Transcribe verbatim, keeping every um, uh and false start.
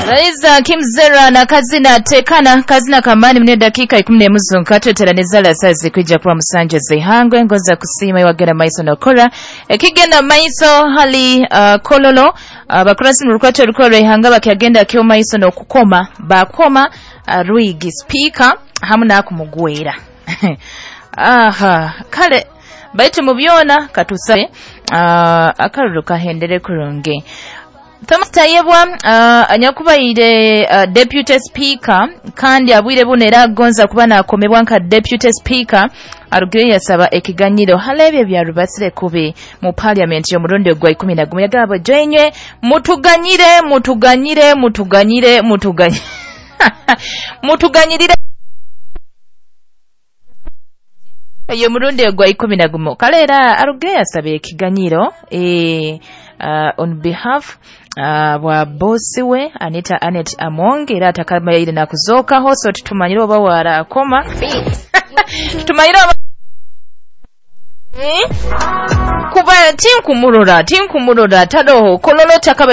Laiza Kimzera na kazina tekana kazina kamani mne dakika ikumi n'emu nkatweteraneza la sazi kwijja kuba musanje zihangwe ngoza kusiima iwagenda maiso nokora ekigenda maiso hali uh, kololo uh, bakurasi mu rukwato rukora ihanga bakyagenda kyo maiso nokukoma bakoma uh, Rwigi speaker hamu nakumugwera aha kale baitu mu byona katusabe uh, akaruru kahendere kurungi. Thomas Tayebwa uh, anyakubaire uh, deputy speaker kandi abwire buno era agonza kuba nakomebwa nka deputy speaker arugire yasaba ekiganyiro halebye bya rubasire kubi mu parliament y'omurundi ogwa ikumi na gumu yagaba joinywe mutuganyire mutuganyire mutuganyire mutuganyire mutuganyirire eyo murundi ogwa ikumi na gumu kale era arugire yasaba ekiganyiro eh Uh, on behalf uh, wa bosi we Anita Anet Among era atakamayire na kuzokaho so tutumanyire oba wara akoma tutumanyire oba eh? Kuba tinkumurora tinkumurora tadoho kololo takaba